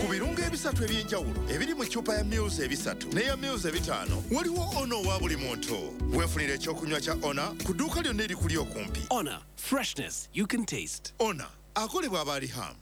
Ku birungo ebisatu eby'enjawulo ebiri mu ccupa ya mils 3 n'eya mils 5, waliwo Ona owa buli muntu. Weefunira ekyokunywa kya Ona ku dduuka lyonna erikuli okumpi. Honor, freshness you can taste. Ona akolebwa abaalihamu.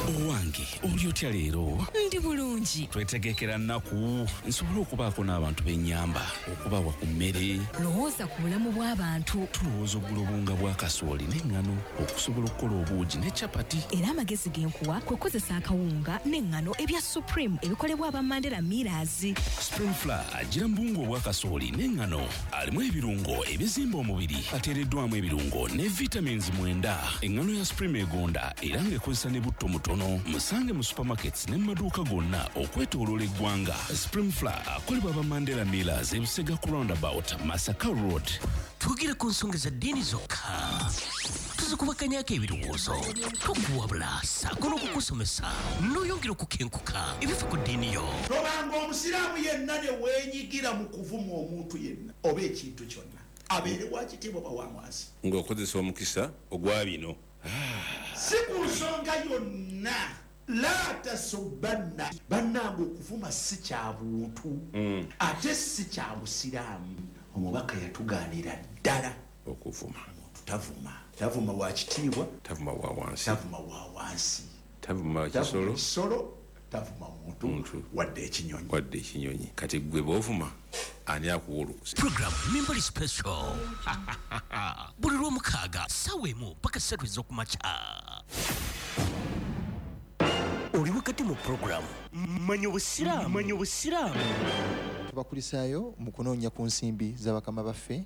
Owange, oli otya leero? Ndi bulungi. Twetegekera nnaku nsobole okubaako n'abantu b'ennyamba okubawa ku mmere. Lowooza ku bulamu bw'abantu. Tulowooza okugula obuwunga bwa kasooli n'eŋŋano okusobola okukola obuugi ne capati. Era amagezi ge nkuwa kwe kukozesa akawunga n'eŋŋano ebya Supreme ebikolebwa aba Mandela Millers. Supreme Flour agira mu buwunga obwa kasooli n'eŋŋano, alimu ebirungo ebizimba omubiri, ateereddwamu ebirungo ne vitamins 9. Eŋŋano ya Supreme egonda era ng'ekozesa ne butto mutono. Musange mu supermarkets ne mu maduuka gonna okwetooloola eggwanga. Supreme Flour akolebwa aba Mandela Millers, Ebusega ku roundabout, Masaka Road. Twogere ku nsonga za ddiini zokka, tuzikubakanyako ebirowoozo, tukuwabula ssaako n'okukusomesa n'oyongera okukenkuka ebifa ku ddiini yo. Tobanga omusiraamu yenna ne weenyigira mu kuvuma omuntu yenna oba ekintu kyonna, abeere wa kitiibwa oba wa wansi. Ng'okozesa omukisa ogwa bino. Si ku nsonga yonna. La tasubbanna. Bannange, okuvuma si kya buntu ate si kya busiraamu. Omubaka yatugaanira ddala okuvuma. Omuntu tavuma, tavuma wa kitiibwa, tavuma wa wansi, tavuma wa wansi, tavuma tavuma kisolo, kisolo, tavuma muntu, Muntu. wadde ekinyonyi. Wadde ekinyonyi. Kati gwe bw'ovuma, ani akuwa olukusa? Program Mimbali Special buli Lwomukaaga 1 paka 3 ez'okumakya. Oli wakati mu program Manya Obusiraamu. Manya Obusiraamu. Tubakulisaayo mu kunoonya ku nsimbi z'abakama baffe.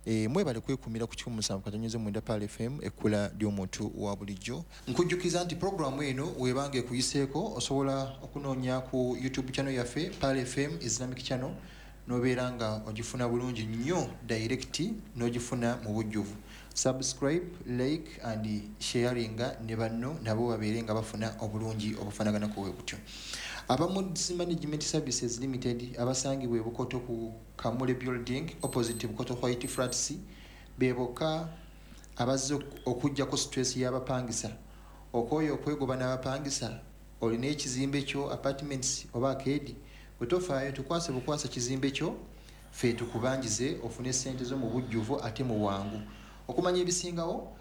Mwebale kwekumira ku 107.9 Pearl FM, ekkula ly'omuntu wa bulijjo. Nkujjukiza nti puroguramu eno webanga ekuyiseeko, osobola okunoonya ku YouTube channel yaffe, Pearl FM Islamic Channel, n'obeera nga ogifuna bulungi nnyo direct, n'ogifuna mu bujjuvu. Subscribe, like and sharinga ne banno nabo babeere nga bafuna obulungi obufaanaganako bwe butyo. Aba Moods Management Services Limited abasangibwa e Bukoto ku Kamule Building opposite Bukoto White Flats be bokka abazze okuggyako stress y'abapangisa. Okwoyo okwegoba n'abapangisa, olina ekizimbe kyo, apartments oba arcade, bwe tofaayo tukwase bukwasa kizimbe kyo, ffe tukubanjize ofune ssente zo mu bujjuvu ate mu bwangu. Okumanya ebisingawo,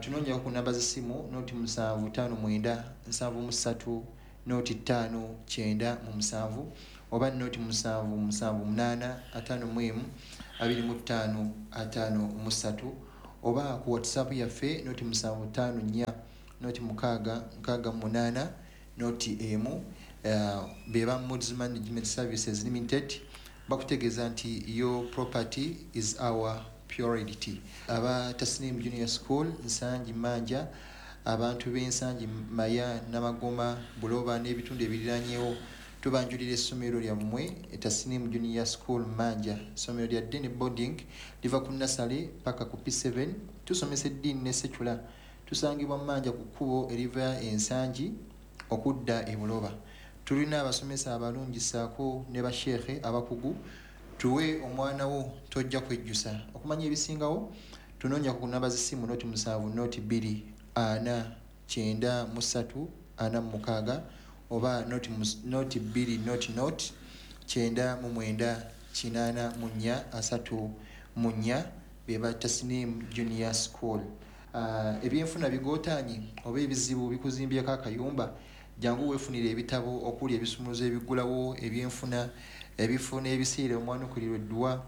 tunoonyako ku namba z'essimu 0759 73 05 97 oba 0778 51 25 53, oba ku WhatsApp yaffe 0754 0 668 01. Be ba Moods Management Services Limited bakutegeeza nti your property is our priority. Aba Tasnim Junior School Nsangi Manja, abantu b'Ensangi, Maya, Namagoma, Buloba n'ebitundu ebiriranyewo, tubanjulira essomero lyammwe, Tasnim Junior School Manja. Essomero lya ddiini, boarding, liva ku nursery paka ku P7. Tusomesa eddiini ne secular. Tusangibwa Manja ku kkubo eriva Ensangi okudda e Buloba. Tulina abasomesa abalungi ssaako ne basheekhe abakugu. Tuwe omwana wo, tojja kwejjusa. Okumanya ebisingawo, tunoonya ku namba z'essimu 070 02 4 93 46 oba 02 00 99 84 34. Be ba Tasnim Junior School. Ebyenfuna bigootaanye oba ebizibu bikuzimbyeko akayumba, jangu weefunire ebitabo okuli ebisumuluzo ebiggulawo ebyenfuna, ebifo n'ebiseera omwanukulirwa edduwa,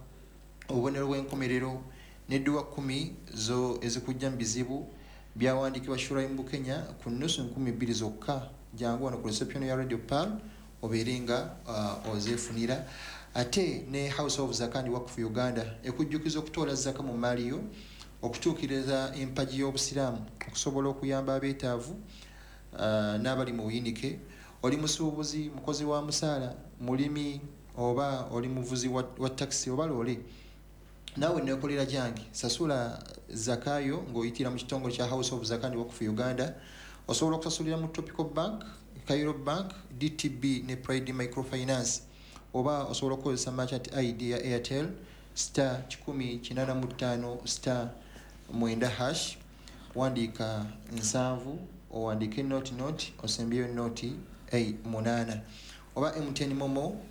obubonero bw'enkomerero n'edduwa 10 zo ezikujja mu bizibu, byawandiikibwa Shuraim Bukenya, ku nusu 2000 zokka. Jangu wano ku reception ya Radio Pearl obeere nga ozeefunira. Ate ne House of Zaka and Wakfu Uganda ekujjukiza okutoola zaka mu maali yo okutuukiriza empagi y'obusiraamu, okusobola okuyamba abeetaavu n'abali mu buyinike. Oli musuubuzi, mukozi wa musaala, mulimi, oba oli muvuzi wa takisi oba loole, naawe nekolera gyange, sasula zakayo ng'oyitira mu kitongole kya House of Zaka and Wakfu Uganda. Osobola okusasulira mu Tropical Bank, Cairo Bank, DTB ne Pride Microfinance, oba osobola okukozesa merchant ID ya Airtel *185*9#, wandiika 7, owandiike 00, osembyeyo 0. 8 oba MTN Momo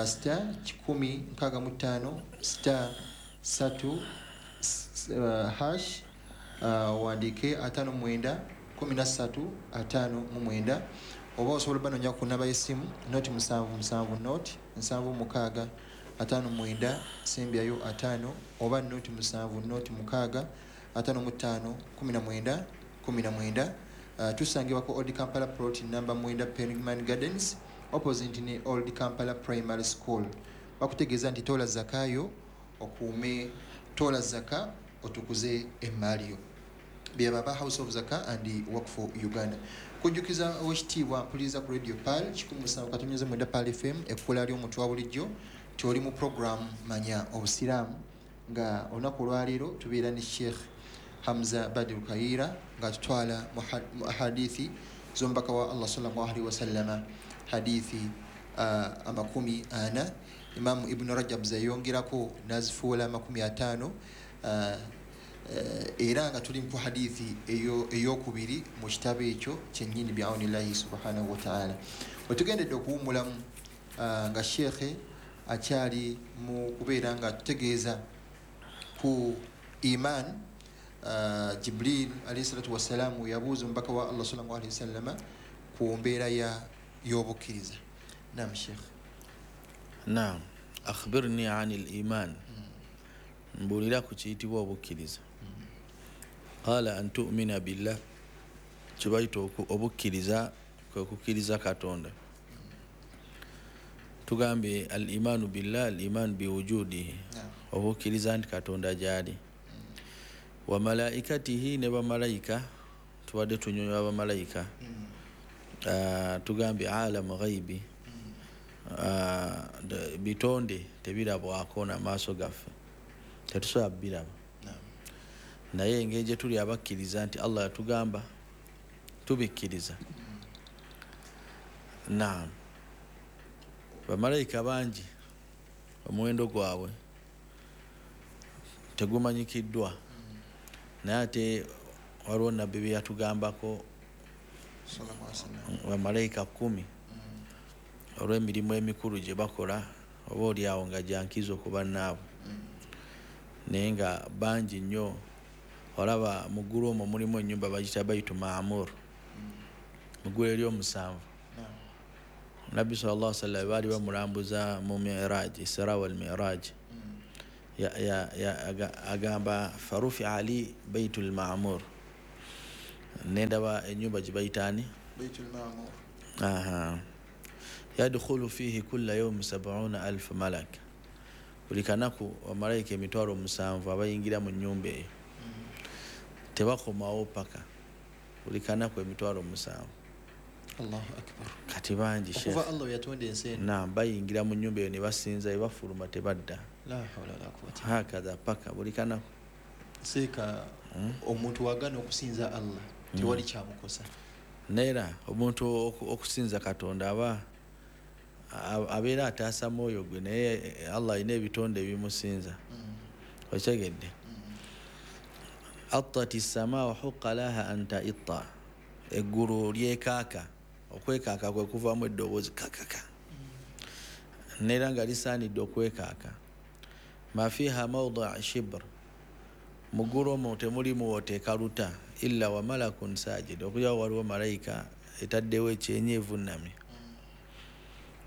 star 165 star 3 hash wandike 59 13 59 oba osobola banoonya ku namba y'essimu noti 77 noti 76 59 sembyayo 5 oba noti 7 noti 6 55 19 19. Tusangibwa ku Old Kampala Plot number 9 Penguin Gardens opposite ne Old Kampala Primary School. Bakutegeeza nti tola zakayo okuume, tola zaka otukuze emmaali yo. Byababa House of Zaka and Work for Uganda. Kujjukiza owekitiibwa mpuliriza ku Radio Pearl 107.9 Pearl FM ekkula ly'omuntu wa bulijjo tyoli mu program Manya Obusiraamu, nga olunaku olwaleero tubeera ne Sheikh Hamza Badru Kayiira nga tutwala mu hadithi z'omubaka wa Allah sallallahu alaihi wasallama, hadithi 40 Imam Ibn Rajab zayongerako nazifuula 50, era nga tuli mu hadithi eyokubiri mu kitabo ekyo kyennyini bi'aunillahi subhanahu wa ta'ala. Wetugendedde okuwummulamu nga Sheikh akyali mu kubeera nga tutegeeza ku iman. Jibril alayhi salatu wassalamu yabuuza omubaka wa Allah sallallahu alaihi wasallama ku mbeera y'obukkiriza. Naam Sheikh. Naam, akhbirni anil iman, mbuulira ku kiyitibwa obukkiriza. Qala an tu'mina billah, kibayita obukkiriza kwe kukkiriza Katonda. Tugambe al imanu billah, al iman biwujudihi, obukkiriza nti Katonda gy'ali, wa malaikatihi, ne bamalayika. Tubadde tunyonyola bamalayika, tugambye alamu ghaibi, bitonde tebirabwako n'amaaso gaffe, tetusobola biraba, naye engeri gye tuli abakkiriza nti Allah yatugamba tubikkiriza. Naam, bamalayika bangi omuwendo gwabwe tegumanyikiddwa, naye ate waliwo nabbi bye yatugambako bamalayika 10 olw'emirimu emikulu gye bakola, oba oli awo nga gyankizo ku bannaabwe, naye nga bangi nnyo. Olaba mu ggulu omwo mulimu ennyumba bagiyita Baitu Maamur, mu ggulu ery'omusanvu. Nabbi sallallahu alaihi wasallam baali bamulambuza mu Miraj, Isra wal Miraj, agamba farufi ali Baitul Maamur, nendaba ennyumba gye bayita ani? Baitul Maamur. Aha. Yadkhulu fihi kulla yawm 70,000 malak, buli kanaku bamalayika 7,000 abayingira mu nnyumba eyo, tebakomawo paka buli kanaku 7,000. Allahu akbar. Kati bangi Sheikh, okuva Allah yatonda ensi eno. Naam, bayingira mu nnyumba eyo ne basinza, ne bafuluma tebadda. La hawla wala quwwata. Hakadha paka buli kanaku. Seeka omuntu wagana okusinza Allah tewali kyamukosa. Neera omuntu okusinza Katonda aba abeera ataasa mwoyo gwe, naye Allah alina ebitonde ebimusinza. Okitegedde? Attati ssamaa wa huqqa laha an ta'itta, eggulu lyekaaka, okwekaaka kwe kuvaamu eddoboozi kakaka, neera nga lisaanidde okwekaaka. Ma fiha mawdaa shibr, mu ggulu omwo temulimu wooteeka luta, illa wa malakun sajid, okujjako waliwo malayika etaddewo ekyenyi evunnamye.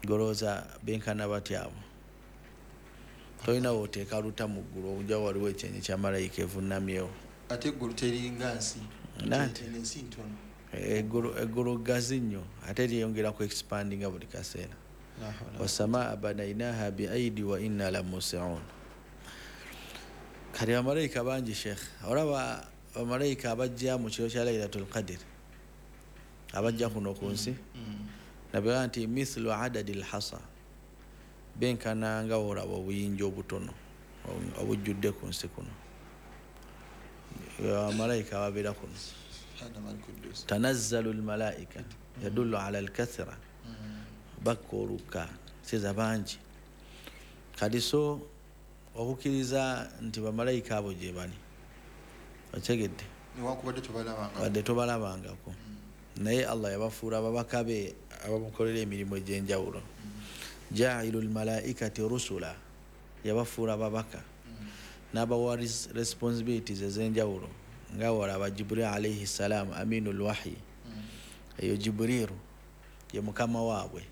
Golooza benkana batya abo? Tolina wooteeka luta mu ggulu okujjako waliwo ekyenyi kya malayika evunnamyewo. Ate eggulu teringa nsi, ensi ntono. Eggulu ggazi nnyo, ate lyeyongera ku expandinga buli kaseera. Wasamaa banainaha biaidi wa inna lamusiun. Kati bamalayika bangi Sheikh. Olaba bamalayika abajja mu kiro kya Lailatul Qadr, abajja kuno ku nsi, nabega nti mithlu adadi lhasa, benkana nga olaba obuyinja obutono obujjudde ku nsi kuno. Bamalayika ababeera kuno. Tanazzalu lmalaika yadullu ala alkathra, bakka oluka seza bangi. Kati so okukkiriza nti bamalayika abo gye bali, okitegedde, wadde tobalabangako. Naye Allah yabafuula ababaka be abamukolera emirimu egy'enjawulo. Jailu lmalaikati rusula, yabafuula ababaka n'abawa responsibilities ez'enjawulo, nga walaba Jibril alayhi salam, aminul wahyi. Eyo Jibrilu ye mukama waabwe,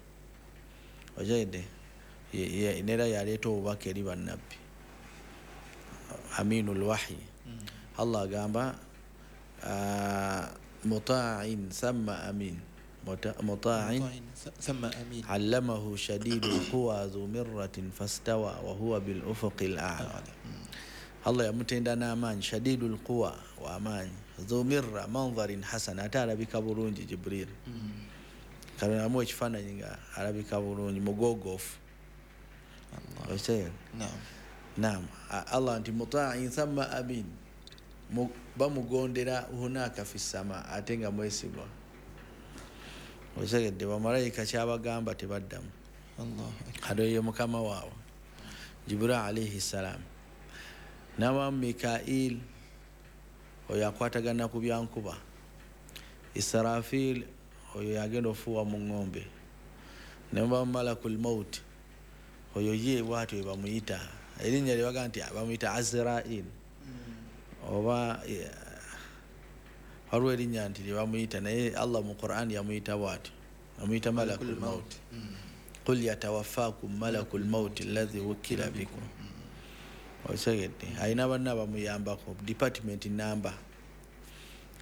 ojaidde nera yaleeta obubaka eri bannabbi, aminul wahyi. Allah agamba muta'in thamma amin, muta'in thamma amin, allamahu shadidul quwa dhu mirratin fastawa wa huwa bil ufuqil a'la. Allah yamutenda n'amaanyi, shadidul quwa wa amaanyi, dhu mirra manzarin hasan, ate alabika bulungi Jibril. Katonda amuwa ekifaananyi nga alabika bulungi, mugoogofu. Naam. Allah nti muta'in thamma amin, bamugondera hunaka fi sama, ate nga mwesigwa. Otegedde, bamalayika kyabagamba tebaddamu. Kati oyo mukama waabwe Jibril alayhi salam. Nawamu Mikail, oyo akwatagana ku byankuba. Israfil, oyo yagenda ofuuwa mu ŋŋombe. Nemubamu Malakul Maut, oyo ye bwatyo bamuyita, erinnya lye bagamba nti bamuyita Azrail, oba waliwo erinnya nti lye bamuyita, naye Allah mu Quran yamuyita bwatyo, amuyita Malakul Maut. Qul yatawaffakum malakul maut alladhi wukkila bikum. Otegedde, alina banna bamuyambako, department namba.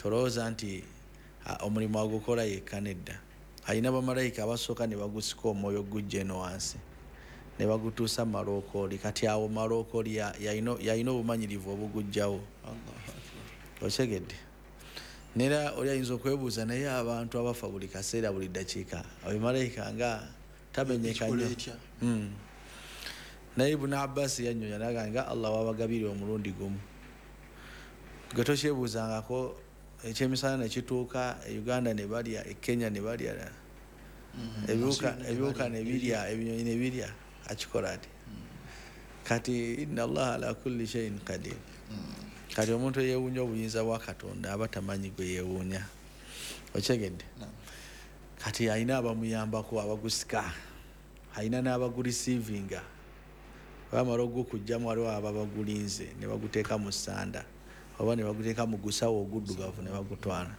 Tolowooza nti omulimu agukola yekka, nedda. Alina bamalayika abasooka ne bagusika omwoyo gujja eno wansi ne bagutuusa malookooli. Kati awo malookooli yalina obumanyirivu obugujjawo. Otegedde, nera oli ayinza okwebuuza, naye abantu abafa buli kaseera buli ddakiika, oyo malayika nga tamenyeka nnyo. Naye Ibn Abbas yanyonya naga nga Allah wabagabira omulundi gumu. Gwe tokyebuuzangako ekyemisana ne kituuka e Uganda ne balya, e Kenya ne balya, ebiwuka ne birya, ebinyonyi ne birya, akikola ati. Kati inna Allah ala kulli shay'in qadir. Kati omuntu eyeewuunya obuyinza bwa Katonda aba tamanyi gwe yeewuunya. Okyegedde? Kati alina abamuyambako abagusika, alina n'abagurisiivinga. Bamala ogukugjamu waliwo ababagulinze ne baguteeka mu ssanda oba ne baguteeka mu gusawo oguddugavu ne bagutwala.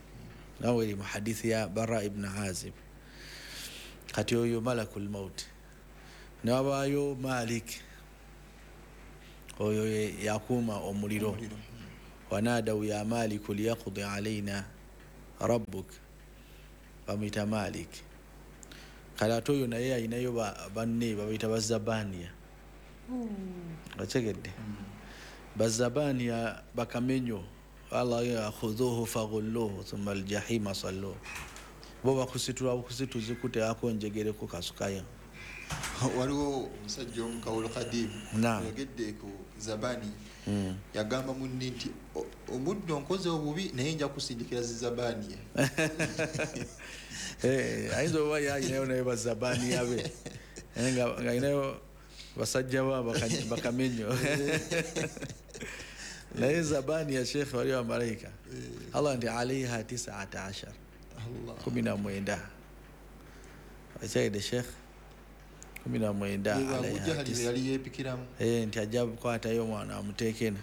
Nawe eri mu hadithi ya Bara ibn Azib. Kati oyo Malakul Maut. Ne wabaayo Malik, oyo yakuuma omuliro. Wanadaw ya Maliku liyaqdi alayna rabbuk, bamuyita Malik. Kale ate oyo naye alinayo banne babayita Bazabaniya. Otegedde, Bazabaniya bakamenyo, Allah yakhudhuhu faghulluhu thumma aljahima salluhu. Bo bakusitula bukusituzi kuteekako njegereko kasukayo. Waliwo omusajja omukawulo kadimu yayogedde ku Zabani, yagamba munne nti omuddo nkoze obubi naye nja kusindikira zizabaniya. Ayinza oba yalinayo naye bazabaniya be, nga alinayo basajja ba bakamenyo. Naye Zabaniya Sheikh waliwo bamalayika, Allah nti alaiha 19, 19. Okyayidde Sheikh, 19 yali yeepikiramu. Nti ajja kukwatayo omwana amuteekena.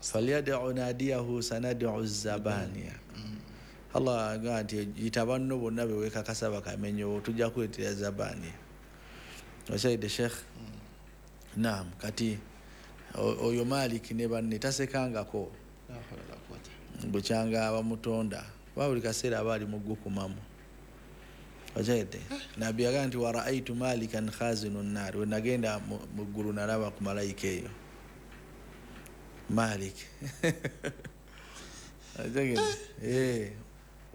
Falyad'u nadiyahu sanad'u zabaniya. Allah agamba nti yita banno bonna be weekakasa bakamenyo, tujja kuleetera Zabaniya. Okyayidde Sheikh? Naam. Kati oyo Malik ne banne tasekangako bukyanga bamutonda, kuba buli kaseera aba ali mu gukumamu. Okyayidde, Nabbi yagamba nti waraaitu Malikan khazinu nnaar, we nagenda mu ggulu nalaba ku malayika eyo Malik. Okyayidde,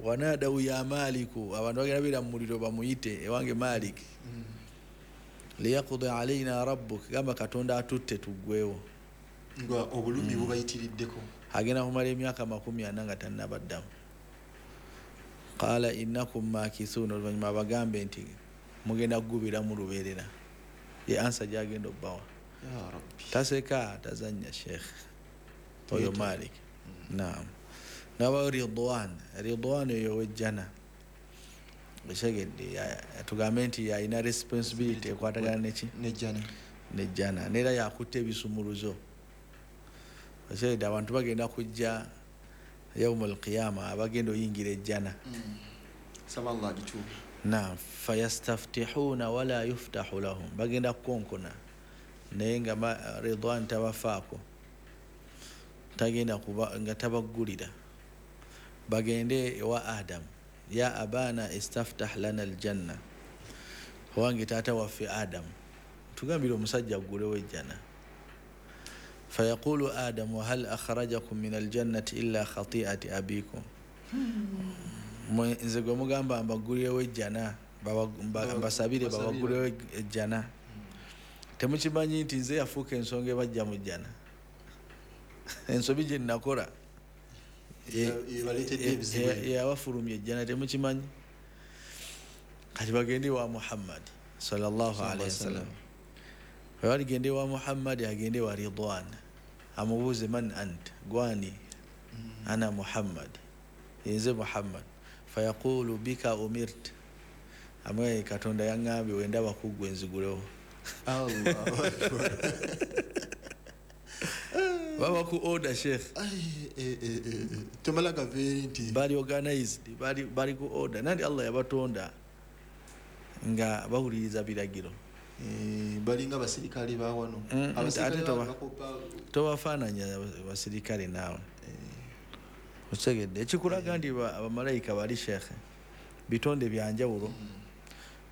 wanadaw ya Maliku, abantu bagenda beera mu muliro bamuyite ewange Malik, liyaqdi alayna rabbuk, gamba Katonda atutte tuggwewo. Nga obulumi bubayitiriddeko. Agenda kumala emyaka 40 nga tannabaddamu. Qala innakum makithun, oluvannyuma abagambe nti mugenda kugubira mu lubeerera. Ye ansa gy'agenda obbawa. Ya Rabbi. Taseka, tazannya Sheikh oyo Malik. Naam. Nabawo Ridwan. Ridwan oyo wejjana, okitegedde? Tugambe nti alina responsibility ekwatagana neki? Nejjana. Nejjana, neera yakutta ebisumuluzo, okitegedde? Abantu bagenda kujja yaumu alqiyama, abagenda oyingira ejjana. Saba Allah agituwe. Nam, fayastaftihuna wala yuftahu lahum, bagenda kukonkona naye nga Ridwan tabafaako, tagenda kuba nga tabaggulira. Bagende ewa Adamu, ya abana istaftah lana aljanna, owange taata waffe Adamu, tugambire omusajja aggulewo ejjana. Fayaqulu Adamu, hal akhrajakum min aljannati illa khati'ati abikum. Nze gwe mugamba mbaggulirewo ejjana, mbasabire babaggulirewo ejjana, temukimanyi nti nze yafuuka ensonga ebajja mu jjana? Ensobi gye nakola Ebaleetedde ebizibu. Yabafulumya ejjana, temukimanyi? Kati bagende wa Muhammad sallallahu alaihi wasallam. Baligende wa Muhammad, agende wa Ridwan, amubuuze, man ant, gwani? Ana Muhammad, nze Muhammad. Fayaqulu, bika umirt, amwe Katonda yaŋŋambye wendaba kuggwe nzigulewo. Allahu akbar. Baba ku order, sheikh. Ai, tomala gaveeri nti bali organized, bali ku order, nandi Allah yabatonda nga bawuliriza biragiro. Balinga basirikale ba wano. Ate tobafaananya basirikale naawe, okitegedde? Ekikulaga nti abamalayika bali, sheekhe, bitonde byanjawulo.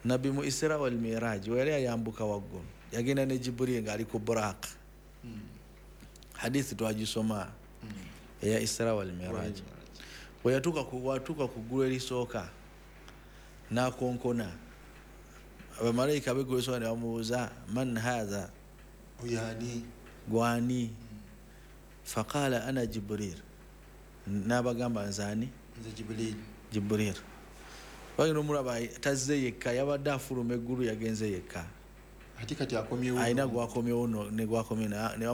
Nabbi mu Isra wal Miraj, we yali ayambuka waggulu, yagenda ne Jiburiri ng'ali ku Buraq. Hadithi twagisoma eya Isra wal Miraj. Bwe watuuka ku ggulu erisooka n'akonkona, abamalayika b'eggulu erisooka ne bamubuuza, man hatha? Oyani? Gwani? Faqala, ana Jibril, n'abagamba, nzaani? Nze Jibril. Jibril. Bagenda omulaba tazze yekka, yabadde afuluma eggulu, yagenze yekka. Ate kati akomyewo. Alina gwakomyewo ne gwakomyewo ne.